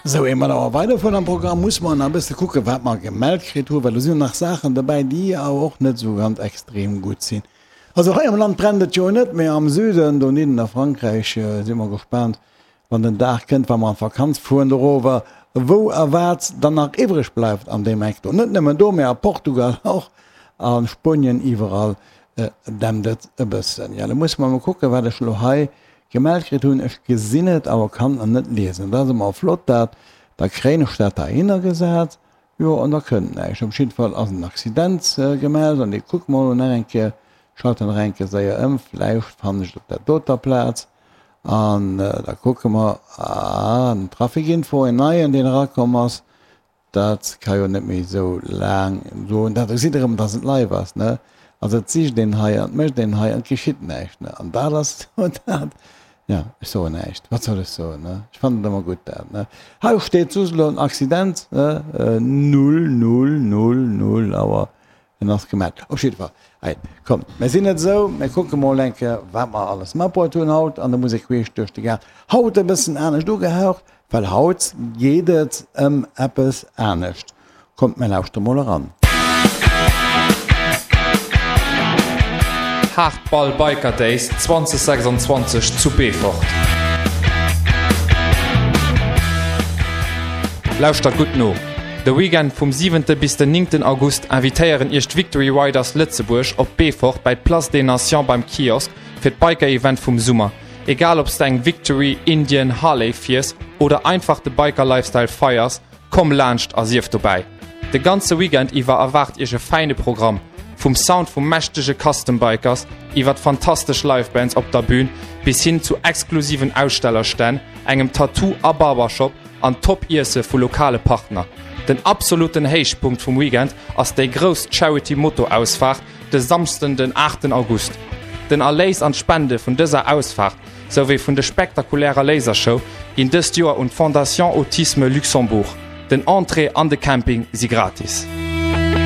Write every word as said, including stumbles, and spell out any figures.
Sou, ier mer awer weiderfueren am Programm, musse mer nach e bësse kucken, wat mer gemellt kritt hunn, well do sinn jo nach Saachen dobäi, déi awer och net esou ganz extrem gutt sinn. Also hei am Land brennt et jo net, mee am Süden, dohinnen a Frankräich, si mer gespaant, wann den Dag kënnt, wa mer an d'Vakanz fueren dorower, wou a wat dann nach iwwreg bleift an deem Eck do. Net nëmmen do, mee a Portugal och, a Spuenien, iwwerall dämpt et e bëssen. Jo, da musse mer emol kucken, wat ech elo hei gemellt kritt hunn. Ech gesinn et, awer kann en net liesen. Dat ass ëmmer flott dat. Da kréien ech dat heihinner gesat, jo, an da kënnt näischt. Op jidde Fall ass en Accident gemellt an dee kucke mer elo nach eng Kéier. Schalten nach eng Kéier séier ëm, vläicht fannen ech et op där doter Plaz. An da kucke mer, ah, en Traficinfo, en neien, deen erakomm ass. Dat ka jo net méi esou laang goen. Dat gesitt Der erëm, dass et live ass, ne? Also et sicht een hei an et mécht een hei an et geschitt näischt, ne? An dat ass jo dat, ja, ech soen näischt, wat soll ech soen, ne? Ech fannen et ëmmer gutt dat, ne? Hei steet just elo en Accident, ne, null, null, null, null Auer. En ass gemellt. Op jidde Fall, hei, kommt, mir sinn net esou, mir kucke mol eng Kéier, wat mer alles matbruet hunn haut an der Musek queesch duerch de Gaart. Haut e bëssen anescht ugehaucht, well haut geet et ëm eppes anescht. Kommt, mir lauschtere mol eran. Hardball Biker Days zwanzeg sechsundzwanzeg zu Beefort. Lauschtert gutt no! De Weekend vum siwente bis den néngten August invitéieren iech d'Victory Riders Lëtzebuerg op Beefort bäi d'Place des Nations beim Kiosk fir d'Biker-Event vum Summer. Egal obs de eng Victory, Indian, Harley fiers oder einfach de Biker-Lifestyle feiers, komm laanscht a sief dobäi! De ganze Weekend iwwer erwaart iech e fäine Programm, vum Sound vu mächtege Custom Bikers iwwert fantastesch Live-Bands op der Bün bis hin zu exklusiven Ausstellerstänn, engem Tattoo a Barbershop an top Iesse vu lokale Partner. Den absoluten Héichpunkt vum Weekend ass déi grouss Charity Moto-Ausfaart de Samschden den aachten August. Den Erléis an d'Spende vun dëser Ausfaart souwéi vun de spektakulärer Lasershow ginn dëst Joer un d'Fondation Autisme Luxembourg. Den Entrée an de Camping si gratis.